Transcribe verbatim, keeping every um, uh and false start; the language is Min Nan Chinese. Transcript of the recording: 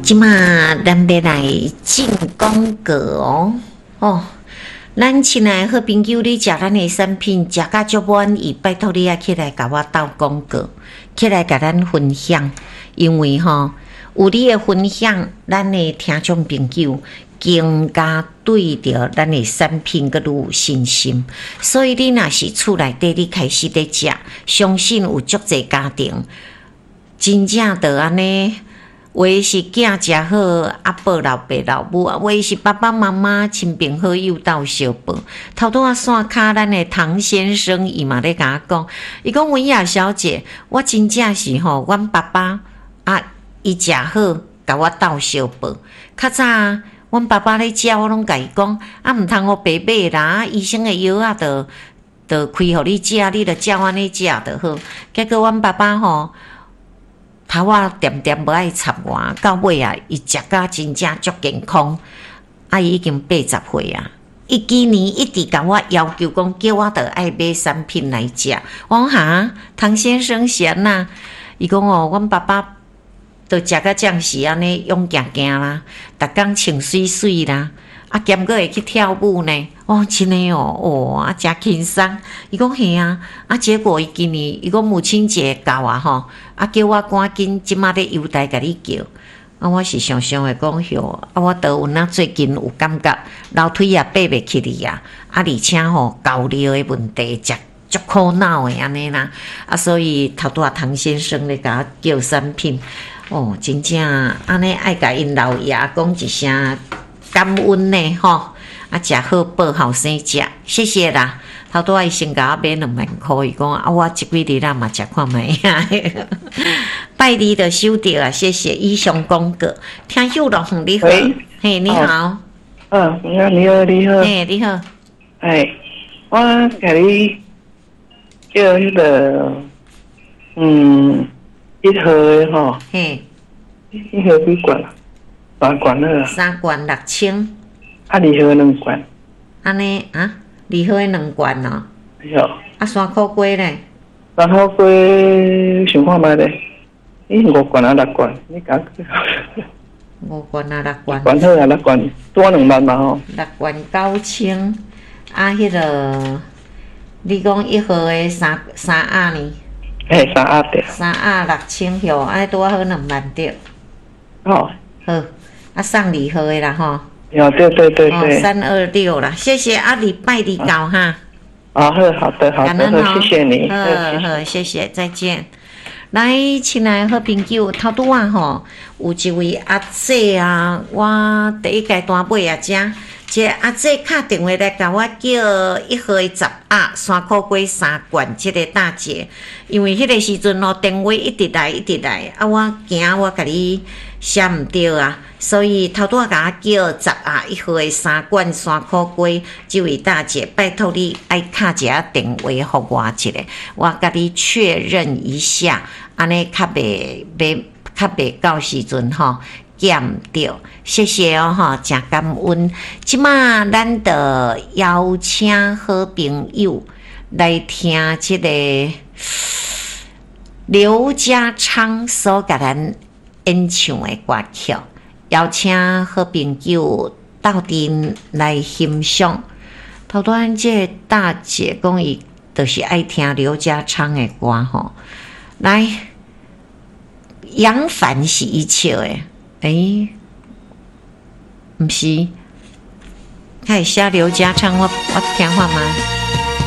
這馬咱欲來進廣告哦，哦，咱親愛好朋友，你食咱的產品食甲足滿意，拜託你愛起來共我鬥廣告，起來共咱分享，因為吼有你的分享，咱的聽眾朋友更加對著咱的產品閣愈有信心。所以你若是厝內底你開始佇食，相信有足濟家庭真正著按呢。有的是囝食好，啊報老爸老母；啊，有的是爸爸媽媽、親朋好友鬥相報。頭拄仔線跤，咱的唐先生伊嘛咧共我講，伊講文雅小姐，我真正是吼，阮爸爸啊，伊食好，共我鬥相報。較早阮爸爸咧食，我攏共伊講，啊，毋通予白買啦，醫生的藥仔著著開予你食，你著照按呢食就好。結果阮爸爸吼，頭仔恬恬無愛插我，到尾啊，伊食甲真正足健康，啊，伊已經八十歲啊。伊今年一直共我要求講，叫我著愛買產品來食。我講哈，唐先生是按怎？伊講哦，阮爸爸都食甲這樣時按呢勇行行啦，逐工穿媠媠啦，啊，兼閣會去跳舞呢。我講真的哦，哦，啊，誠輕鬆。伊講嘿啊，啊，結果伊今年伊講母親節到啊吼，啊，叫我趕緊這馬咧郵台共你叫。啊，我是想想會講喲，啊，我倒有哪最近有感覺樓梯也爬袂起去啊，啊，而且吼高尿的問題，食足苦惱的按呢啦。啊，所以頭拄仔唐先生咧共我叫產品，哦，真正按呢愛共𪜶老爺講一聲感恩呢吼。啊，食好報後生食，謝謝啦。頭拄仔伊先共我買兩萬箍，伊講啊，我這幾日啦嘛食看覓啊。拜二就收著啊，謝謝。以上廣告，聽秀樂，你好，嘿，你好。嗯，你好，你好，你好。嘿，你好。哎，我共你叫彼个，嗯，一號的吼。嘿。一號幾罐？三罐好啊。三罐六千。啊，二號兩罐。按呢啊，二號的兩罐哦。對。啊，山苦瓜咧？山苦瓜想看覓咧？你五罐啊，六罐？你講。五罐啊，六罐。罐好啊，六罐多兩萬嘛吼。六罐九千，啊，彼个你講一號的三三盒呢？嘿，三盒對。三盒六千票，按呢拄仔好兩萬對。好。好，啊送二號的啦吼。對對對對對。三二六啦，謝謝啊，禮拜二到哈。啊好，好的好的，好，謝謝你。好好，謝謝，再見。來，親愛的好朋友，頭拄仔吼，有一位阿姐啊，我第一階段買啊，遮，這個阿姐敲電話來共我叫一號的十盒山苦瓜三罐，這個大姐，因為彼個時陣哦，電話一直來一直來，啊，我驚我共你寫毋著啊，所以頭拄仔共我叫十盒一號的三罐山苦瓜，這位大姐，拜託你愛敲一下電話予我一下，我共你確認一下。按呢較袂袂較袂到時陣吼寄毋著，謝謝哦吼，誠感恩。這馬咱就邀請好朋友來聽這个劉家昌所共咱演唱的歌曲，邀請好朋友鬥陣來欣賞。頭拄仔這個大姐講伊就是愛聽劉家昌的歌吼。來，楊凡是伊唱的，欸，毋是，開始寫劉家昌，我我聽看覓。